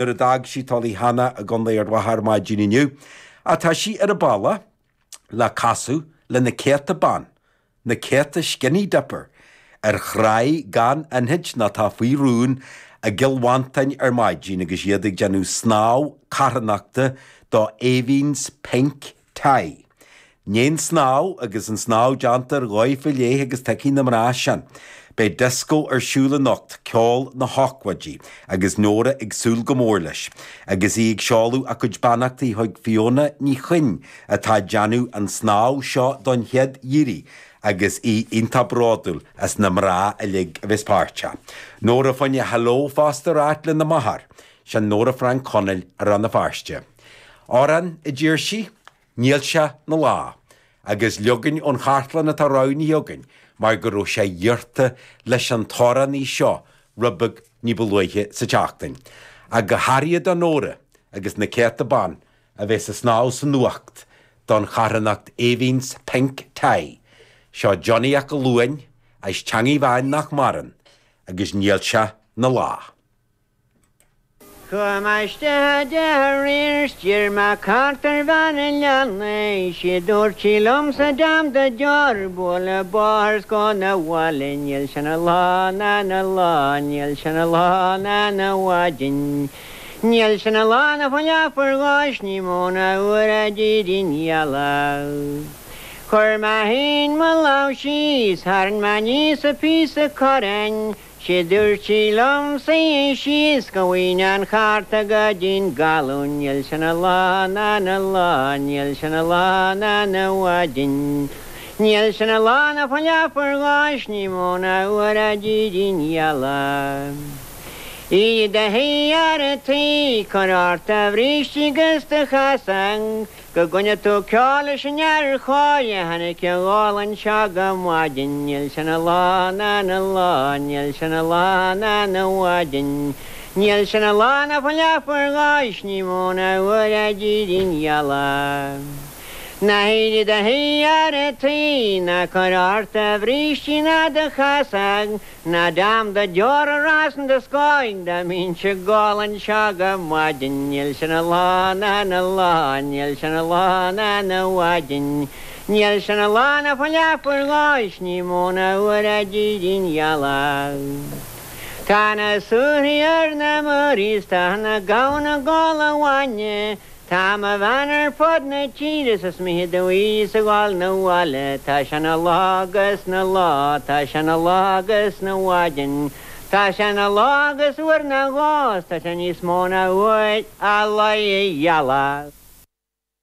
Nuair a d'fhág sí Tulach Cheana i gContae Ard Mhacha ar maidin inniu, ach tá sí ar a bealach le casadh le na céadta ban, na céadta skinny dipper, ar thráigh gan infhaighte nó atá faoi rún i gCill Mhantáin ar maidin agus iad ag déanamh snámh carthanachta do Aoibheann's Pink Tie. Ndiaidh an snámh agus an snámh déanta ar dhóigh faoi leith agus tiocfaidh na mná sin. Beidh dioscó ar siúl anocht, ceol na hócáide, agus Nóra ag súil go mór leis. Agus í ag seoladh a cuid beannachtaí chuig Fiona Ní Chuinn atá ag déanamh an snámh seo don chéad iarraidh agus í iontach bródúil as na mná uilig a bheas páirteach. Nóra fá choinne hello fosta a ráit lena máthair, sin Nóra Frainc Chonaill i Rann na Feirste. Amhrán a d'iarr sí? Níl sé 'na lá, agus leagan ón chartlann atá roghnaithe againn mar go raibh sé iarrta leis an t-amhránaí seo rud beag ní ba luaithe sa tseachtain. Ach go háirithe do Nóra agus na céadta ban a bheas ag snámh san fhuacht don charthanacht Aoibheann's Pink Tie, seo Johnny 'Ac Luain as Teangaidh Mheáin nach maireann agus Níl sé 'na lá. Chuaigh mé isteach i dteach aréir 's d'iarr mé cárta ar bhean an leanna 'Sé dúirt sí liomsa deam do deoir buail an bóthar 's gabh 'na bhaile Níl sé 'na lá ná 'na lá níl sé 'na lá ná 'na mhaidin Níl sé 'na lá ná fá leathuair dhó 's ní mó ná uair a d'éirigh an ghealach Chuir mé féin mo lámh síos tharraing mé aníos an píosa corráin 'Sé dúirt sí liom suigh síos go bhfaighinn an chárta go dtí'n gcalún Níl sé 'na lá ná 'na lá níl sé 'na lá ná 'na mhaidin Níl sé 'na lá ná fá leathuair dhó 's ní mó ná uair a d'éirigh an ghealach. Éirigh i do shuí fhear a' tí cuir ort do bhríste 'gus do chasán Go gcluine tú ceol leis an fhear chóir a tháinig a dhul anseo go maidin Níl sé 'na lá ná 'na lá níl sé 'na lá ná 'na mhaidin Níl sé 'na lá ná fá leathuair dhó 's ní mó ná uair a d'éirigh an ghealach. Ná héirigh i do shuí a fhear a' tí ná cuir ort do bhrístí ná do chasán Ná deam do deora a rá san do scáil dá mbínnse ag gol anseo go maidin Níl sé 'na lá ná 'na lá níl sé 'na lá ná 'na mhaidin Níl sé 'na lá ná fá leathuair dhó 's ní mó ná uair a d'éirigh an ghealach Tá na súthaí ar na muirí 's tá na gamhna ag ól an bhainne Tá mo bhean ar fud na tíre 's is mithid domh í a ghabháil 'na bhaile Tá sé 'na lá agus 'na lá, tá sé 'na lá agus 'na mhaidin Tá sé 'na lá agus uair nó dhó 's tá sé níos mó ná uair a luigh an ghealach.